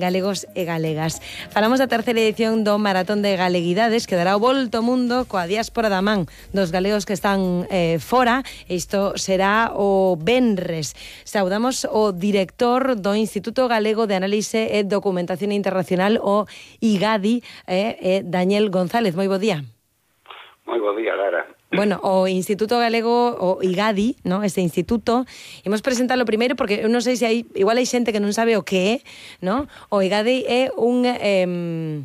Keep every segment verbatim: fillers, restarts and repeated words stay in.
galegos e galegas. Falamos da terceira edición do Maratón de Galeguidades, que dará o volto ao mundo coa diáspora da man dos galegos que están eh, fora. Isto será o venres. Saudamos o director do Instituto Galego de Análise e Documentación Internacional, o IGADI, eh, eh, Daniel González. Moi bo día. Moi bo día, Lara. Bueno, o Instituto Galego, o IGADI, ¿no? Este instituto, imos presentalo primeiro porque eu non sei se hai, igual hai xente que non sabe o que é, ¿no? O IGADI é un eh,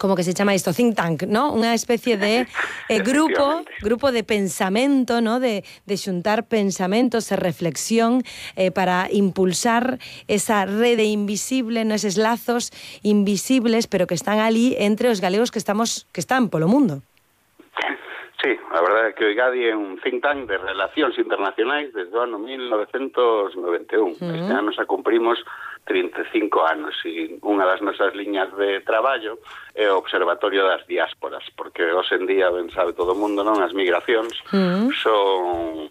como que se chama isto, think tank, ¿no? Unha especie de eh, grupo, grupo de pensamento, ¿no? De, de xuntar pensamentos e reflexión eh, para impulsar esa rede invisible, ¿no? Eses lazos invisibles, pero que están ali entre os galegos que estamos que están polo mundo. Sí, a verdade é que o IGADI é un think tank de relacións internacionais desde o ano mil novecentos noventa e un. Uh-huh. Este ano xa cumprimos trinta e cinco anos e unha das nosas liñas de traballo é o Observatorio das Diásporas, porque hoxe en día, ben sabe todo o mundo, non, as migracións uh-huh. son...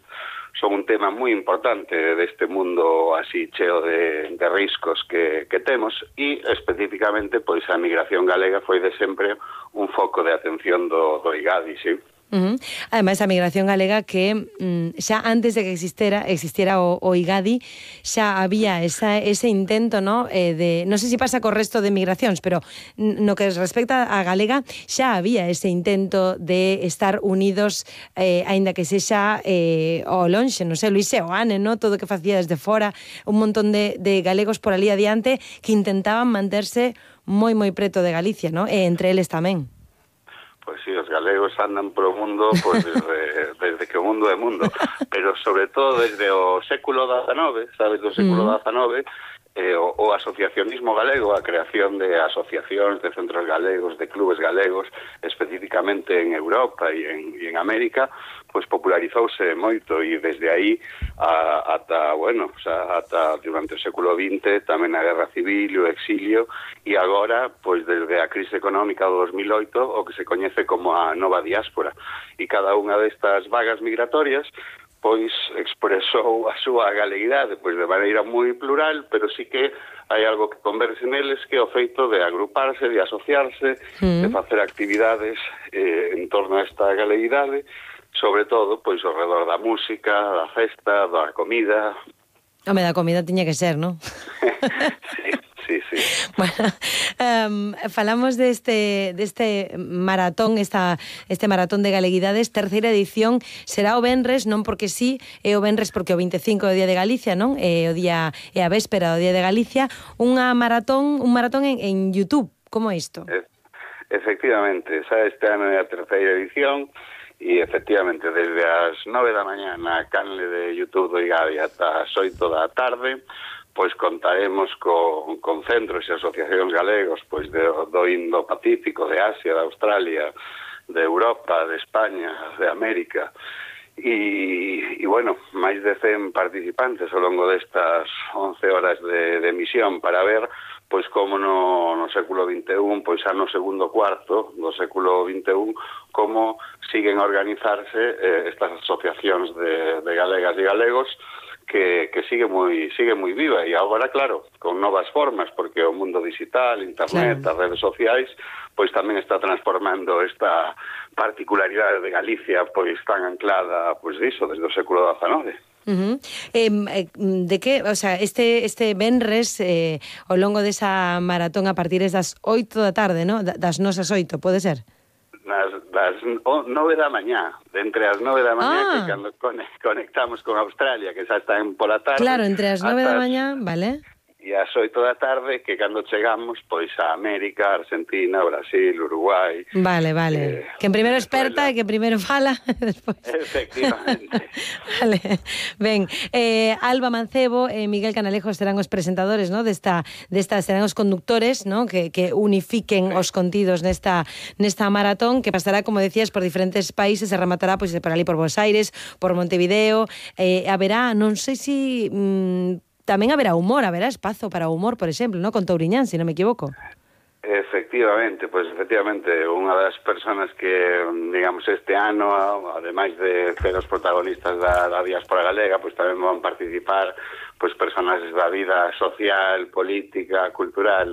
son un tema moi importante deste mundo así cheo de, de riscos que, que temos e especificamente pois a migración galega foi de sempre un foco de atención do, do IGADI, sí. Uh-huh. Ademais, a migración galega que mm, xa antes de que existera existiera o, o IGADI xa había esa, ese intento, ¿no? Eh, de, non sei se pasa co resto de migracións, pero no que respecta a galega xa había ese intento de estar unidos, eh, aínda que sexa eh, o lonxe, non sei, Luis Seoane, ¿no? Todo o que facía desde fora, un montón de, de galegos por ali adiante que intentaban manterse moi moi preto de Galicia, ¿no? E entre eles tamén. Pois sí, os galegos andan pro mundo pois desde, desde que o mundo é mundo, pero sobre todo desde o século dezenove, sabes, do século dezenove, eh, o, o asociacionismo galego, a creación de asociacións, de centros galegos, de clubes galegos, especificamente en Europa e en, e en América, pois popularizouse moito e desde aí a, ata, bueno, o sea, ata durante o século vinte tamén a Guerra Civil, o exilio e agora, pois desde a crise económica do dos mil oito, o que se coñece como a nova diáspora. E cada unha destas vagas migratorias pois expresou a súa galeguidade pois de maneira moi plural, pero sí que hai algo que converse neles, que é o feito de agruparse, de asociarse, mm. de facer actividades eh, en torno a esta galeguidade, sobre todo pois ao redor da música, da festa, da comida. Home, da comida tiña que ser, non? Sí. Sí, sí. Bueno, um, falamos deste, deste maratón, esta, este maratón de galeguidades, terceira edición, será o venres, non porque sí, é o venres porque o vinte e cinco é o Día de Galicia, non? É o día, é a véspera do Día de Galicia, unha maratón, un maratón en, en YouTube, como isto? E, efectivamente, xa este ano é a terceira edición, e efectivamente desde as nove da mañá na canle de YouTube do IGADI ata as oito da tarde, pois contaremos con, con centros e asociacións galegos pois de, do Indo-Pacífico, de Asia, de Australia, de Europa, de España, de América e, e bueno, máis de cen participantes ao longo destas once horas de, de emisión para ver pois como no, no século vinte e un, pois xa no segundo cuarto do século vinte e un, como siguen a organizarse eh, estas asociacións de, de galegas e galegos que, que sigue moi sigue moi viva e agora, claro, con novas formas, porque o mundo digital, internet, claro, as redes sociais, pois tamén está transformando esta particularidade de Galicia, pois tan anclada, pois diso, desde o século dezenove. Uh-huh. Eh, de que, o sea, este este venres eh, ao longo desa maratón a partir das oito da tarde, ¿no? Das nosas oito, pode ser? Das, das nove da mañá, de entre as nove da mañá, ah. que cando conectamos con Australia, que xa está en pola tarde. Claro, entre as nove da mañá, vale. E as oito da tarde, que cando chegamos, pois a América, Argentina, Brasil, Uruguai... Vale, vale. Eh, que primeiro experta e que primeiro fala. Despois. Efectivamente. Vale. Ben, eh, Alba Mancebo e Miguel Canalejo serán os presentadores, ¿no? Desta, desta serán os conductores, ¿no? Que, que unifiquen sí. os contidos nesta, nesta maratón, que pasará, como decías, por diferentes países, se rematará pois, por ali por Buenos Aires, por Montevideo, eh, haberá, non sei se... Mmm, tamén haberá humor, haberá espazo para humor, por exemplo, ¿no? Con Touriñán, se non me equivoco. Efectivamente, pois pues, efectivamente, unha das persoas que, digamos, este ano, ademais de ser os protagonistas da, da diáspora galega, pois pues, tamén van participar pois pues, personaxes da vida social, política, cultural